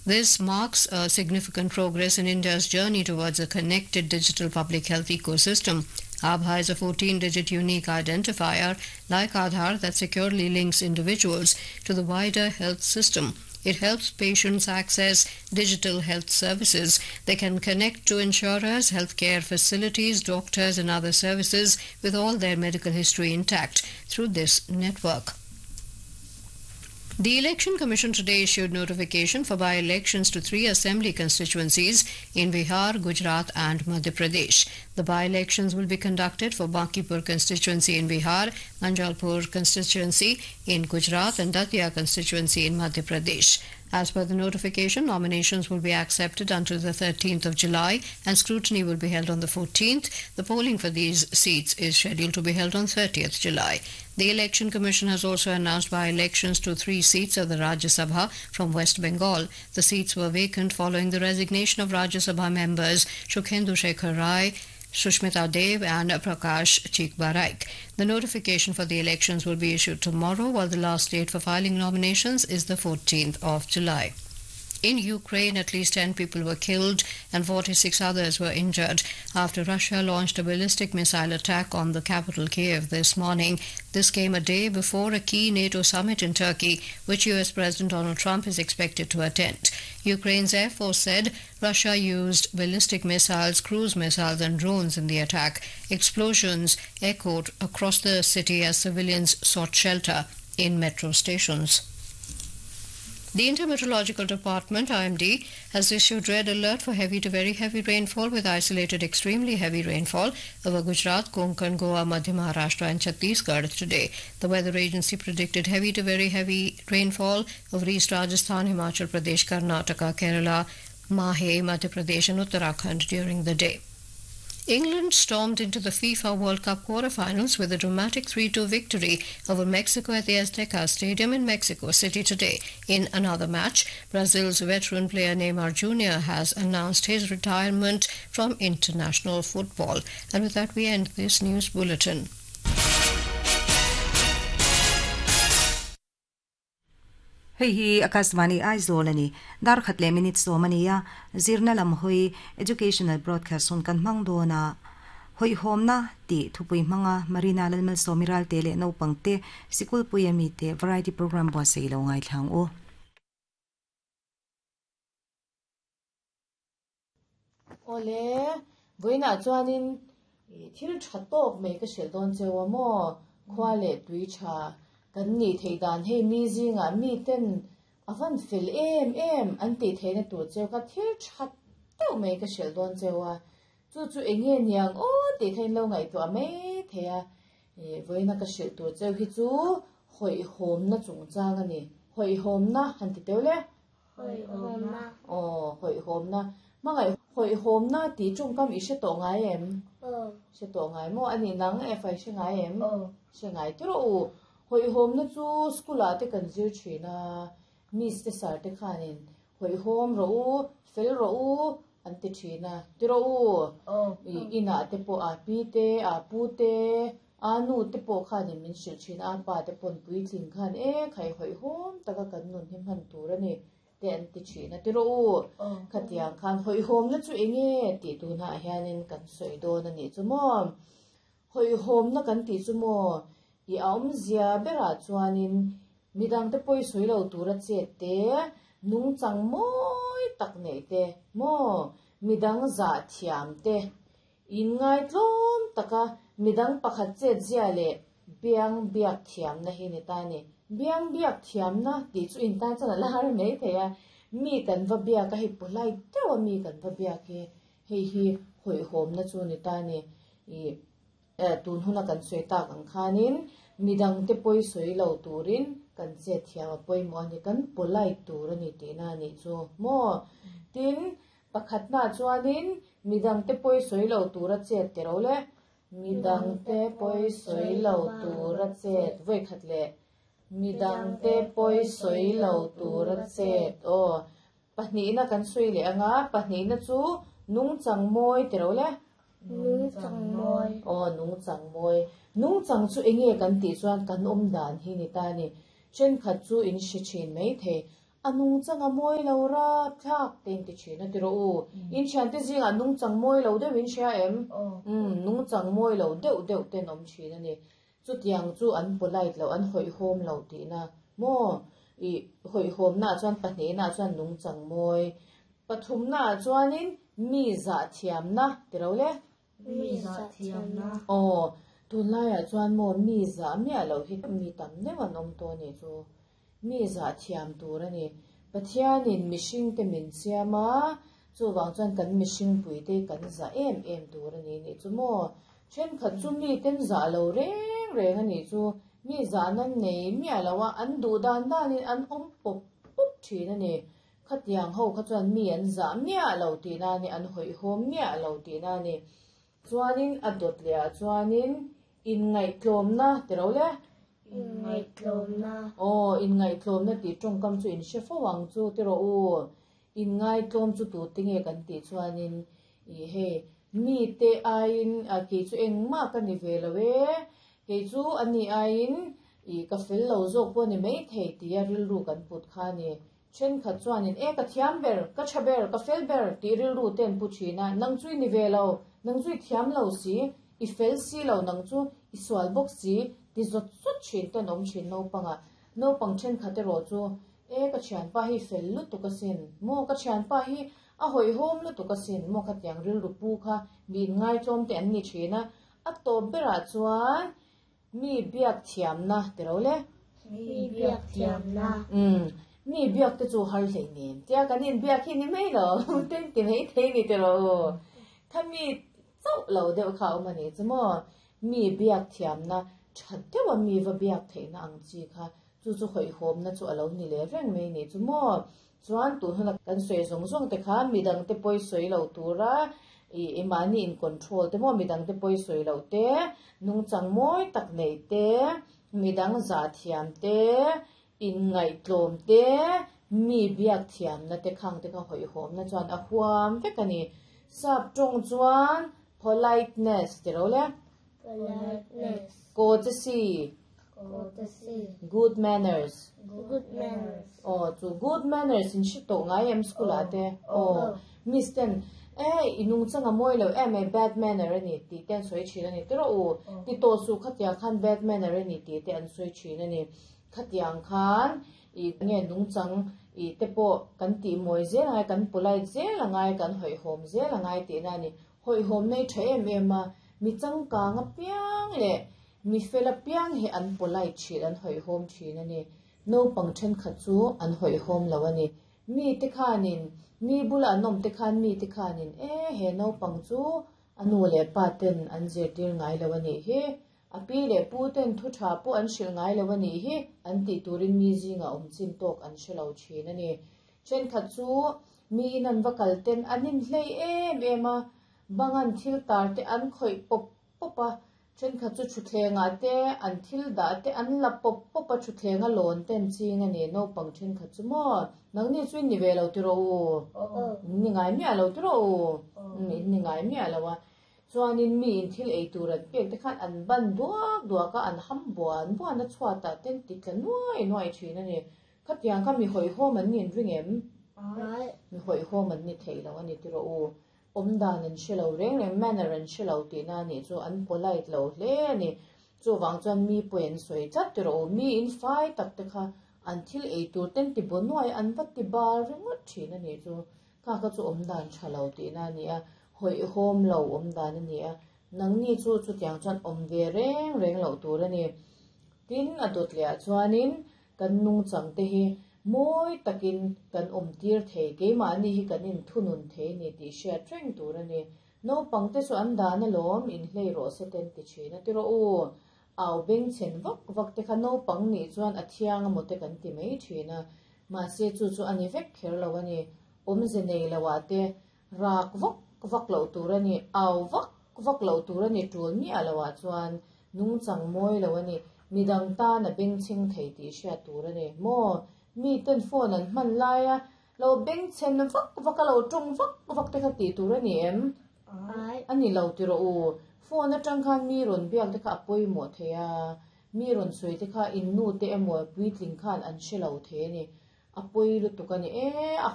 This marks a significant progress in India's journey towards a connected digital public health ecosystem. ABHA is a 14 digit unique identifier like Aadhaar that securely links individuals to the wider health system. It helps patients access digital health services. They can connect to insurers, healthcare facilities, doctors, and other services with all their medical history intact through this network. The Election Commission today issued notification for by elections to three assembly constituencies in Bihar, Gujarat, and Madhya Pradesh. The by elections will be conducted for Bankipur constituency in Bihar, Manjalpur constituency in Gujarat, and Datia constituency in Madhya Pradesh. As per the notification, nominations will be accepted until the 13th of July and scrutiny will be held on the 14th. The polling for these seats is scheduled to be held on 30th July. The Election Commission has also announced by elections to three seats of the Rajya Sabha from West Bengal. The seats were vacant following the resignation of Rajya Sabha members Shukhendu Shekhar Rai, Sushmita Dev and Prakash Chikbaraik. The notification for the elections will be issued tomorrow, while the last date for filing nominations is the 14th of July. In Ukraine, at least 10 people were killed and 46 others were injured after Russia launched a ballistic missile attack on the capital Kiev this morning. This came a day before a key NATO summit in Turkey, which US President Donald Trump is expected to attend. Ukraine's Air Force said Russia used ballistic missiles, cruise missiles, and drones in the attack. Explosions echoed across the city as civilians sought shelter in metro stations. The Intermeteorological Department, IMD, has issued red alert for heavy to very heavy rainfall with isolated extremely heavy rainfall over Gujarat, Konkan, Goa, Madhya Maharashtra and Chhattisgarh today. The weather agency predicted heavy to very heavy rainfall over East Rajasthan, Himachal Pradesh, Karnataka, Kerala, Mahe, Madhya Pradesh and Uttarakhand during the day. England stormed into the FIFA World Cup quarterfinals with a dramatic 3 2 victory over Mexico at the Azteca Stadium in Mexico City today. In another match, Brazil's veteran player Neymar Jr. has announced his retirement from international football. And with that, we end this news bulletin. Hei hi Akashvani Aizawl ani dar khat leh minute sawm a ni a, zirna lam hawi Educational Broadcast hun kan hmang dawn a, hawihhawmna tih thupui hmanga Marina Lalmalsawmi Ralte leh naupang te sikul pui ami te Variety Programme buatsaih lo ngaithla ang u. Awle, vawiinah chuanin thil tha tawk mai ka hrilh dawn cheu a maw? Khua leh tui tha kan nih theih dan hei mi zingah mi ten a van fel em em an tih theihna tur cheu kha thil tha deuh mai ka hrilh dawn cheu a, chu chu eng nge niang aw tih kha in lo ngaihtuah mai thei a, vawiina ka hrilh tur cheu hi chu hawihhawmna chungchang a ni, hawihhawmna han ti teuh le. Hawihhawmna. Aw, hawihhawmna. Hmangaih hawihhawmna tih tawngkam i hre tawh ngai em? Aw. Hre tawh ngai maw? Ani nang e fai hre ngai em? Aw. Hre ngai ti rawh u. Hawihhawmna chu school ah te kan zir thin a, miss te sir te khanin hawihhawm rawh u, fel rawh u an ti thin a, ti rawh u. Aw. I inah te pawh a pi te, a pu te, A nu te pawh khanin min hrilh thin a, pa te pawn puitling khan e khai hawihhawm taka kan nun hi hman tur a ni te an ti thin a, ti rawh u, khatiang khan hawihhawmna chu eng nge tih tunah hianin kan sawi dawn a nih chu maw? Hawihhawmna kan tih chu maw? I awmzia berah chuanin midangte pawi sawi lo tura chet te, nungchang mawi tak neih te maw? Midang zah thiam te Inngaitlawm taka midang pakhat chetzia leh biang biak thiamna hi ni ta a ni. Biang biak thiamna tih chu intan chuan a la har mai thei a, mi kan va biak a, hei pawhlai deuha mi kan va biak hi hei hi hawihhawmna chu ni ta a ni. Ih tun huna kan sawi tak ang khanin midangte pawi sawi lo turin kan chet thiam a pawimawh a ni, kan polite tur a ni tihna a nih chu maw? Tin, Pakhatna chuanin midangte pawi sawi lo tura chet ti ro le. Midangte pawi sawi lo tura chet vawi khat leh midangte pawi sawi lo tura chet aw. Pahnihna kan sawi leh anga pahnihna chu nungchang mawi ti ro le. Nungchang mawi. Aw nungchang mawi. Nungchang chu enge kan tih chuan kan awm dan hi ni ta a ni. Thenkhat chu in hre thin maithei. A nungchang a mawi lo rapthlak te in ti thin a ti rawh u. In thiante zingah nungchang mawi lo deuh in hria em? Umm nungchang mawi lo deuh deuh ten awm thin a ni. Chutiang chu an polite lo, an hawihhawm lo tihna maw? Ih hawihhawmnaah chuan pahnihnaah chuan nungchang mawi, pathumnaah chuanin mi zah thiamna ti lo le. Mi zah thiamna. Aw, tunlaiah chuan maw mi zah miah loh hi mi tam deuh an awm tawh a nih chu. Mi zah thiam tur a ni. Pathianin mihringte min siam a, chuvang chuan kan mihringpuite kan zah em em tur a ni nih chu maw. Thenkhat chu miten zah lo reng reng a nih chu. Mi zah nan nei miah lo a, an duh dan danin an awm pawp pawp thin a ni. Khatiang ho kha chuan mi an zah miah lo tihna a ni, an hawihhawm miah lo tihna a ni. Chuanin a dawt leh ah chuanin inngaihtlawmna ti ro le? Inngaihtlawmna. Aw, inngaihtlawmna tih tawngkam chu in hre fo ang chu ti rawh u. Inngaitlawm chu tute nge kan tih chuanin ih hei mite aiin kei chu engmah ka ni ve lo e, kei chu ani aiin ih ka fel lo zawk pawh a ni maithei tia rilru kan put kha a ni. Thenkhat chuanin, E ka thiam ber, ka tha ber, ka fel ber tih rilru te an pu thin a, nang chu i ni ve lo, nang chu i thiam lo si, i fel si lo, nang chu i sual bawk si ti zawt zawt thin te an awm thin naupangah. Naupang thenkhat erawh chu, E ka thianpa hi fel lutuk asin, maw ka thianpa hi a hawihhawm lutuk asin, maw khatiang rilru pu kha mi inngaitlawm te an ni thin a, a tawp berah chuan Mi biak thiamna ti ro le. Mi biak thiamna. Umm, mi biak te chu har hlei nen tia kan inbiak hi ni mai lo, ten ti mai thei ni ti ro u. Kha mi chauh lo deuh kha a awm a ni chu maw? Mi biak thiamna tha deuha mi va biak theihna ang chi kha chu chu hawihhawmna chu a lo ni leh reng mai ni chu maw? Chuan tun huna kan sawi zawng zawng te kha midang te pawi sawi lo tura ih mahni in control te maw midang te pawi sawi loh te, nungchang mawi tak neih te, midang zah thiam te, inngaihtlawm te, mi biak thiamna te khang te kha hawihhawmna chuan a huam vek a ni. Sap tawng chuan politeness ti ro le. Politeness. Courtesy. Courtesy. Good manners. Good manners. Aw chu good manners in hre tawh ngai em school ah te? Aw. Miss ten e i nungchang a mawi lo em e bad manner a ni tih te an sawi thin a ni tiraw u? Ti tawh suh khatiang khan bad manner a ni tih te an sawi thin a ni. Khatiang khan i nge nungchang i te pawh kan tih mawi zel angai kan polite zel angai kan hawihhawm zel angai tihna a ni. Hawihhawm nei tha em em a, mi changkang apiang leh mi fel apiang hi an polite thin, an hawihhawm thin a ni. Naupang thenkhat chu an hawihhawm lo a ni. Mite khanin, mi bula an awm te khan mite khanin, E, he naupang chu a nu leh pa ten an zirtir ngai lo a nih hi, a pi leh pu ten thu tha pawh an hrilh ngai lo a nih hi, an tih turin mi zingah awm chin tawk an hre lo thin a ni. Thenkhat chu mi in an va kal ten an inhlei em em a, bangan thil tar te an khawih pawp pawp a, thenkhat chu thutthlengah te an thil dah te an la pawp pawp a, thutthleng a lawn te an ching a ni, naupang thenkhat chu maw nangni chu in ni ve lo tiraw u? In ni ngai miah lo tiraw u? In ni ngai miah lo a, chuanin mi in thil ei tur an pek te khan an ban duak duak a, an ham buan buan a chhuatah te an ti tla nuai nuai thin a ni. Khatiang kha mi hawihhawm an ni an ring em? Mi hawihhawm an ni thei lo a ni tiraw u. Awm dan an hre lo reng reng, manner an hre lo tihna a nih chu an polite lo hle a ni. Chuvang chuan mi pawi an sawi tlat tiraw u. Mi in fai tak te kha an thil ei tur ten ti baw nuai an va ti bar ringawt thin a nih chu. Kha kha chu awm dan tha lo tihna a ni a, hawihhawm lo awm dan a ni a. Nangni chu chutiang chuan awm ve reng reng loh tur a ni. Tin, a dawt leh ah chuanin Kan nungchang te hi mawi takin kan awm tir thei, keimahni hi kan inthunun thei ni tih hriat reng tur a ni. Naupang te chu an dan alawm, inhlei rawh se ten ti thin a ti rawh u. Au bengchhen vak vak te kha naupang nih chuan a thiang amaw te kan ti mai thin a, mahse chu chu a ni vek kher lo a ni. Awmze nei lo ah te rak vak vak loh tur a ni, au vak vak loh tur a ni tul miah lo ah chuan Nungchang mawi lo a ni. Midang tan a bengchheng thei tih hriat tur a ni. Maw? Miten phone an hman lai a, lo bengchhen vak vak a, lo tawng vak vak te kha tih tur a ni em? A ni lo ti rawh u. Phone atang khan mi rawn biak te kha a pawimawh thei a, mi rawn sawi te kha in nu te emaw puitling khan an hre lo thei a ni. A pawi lutuk a ni e a.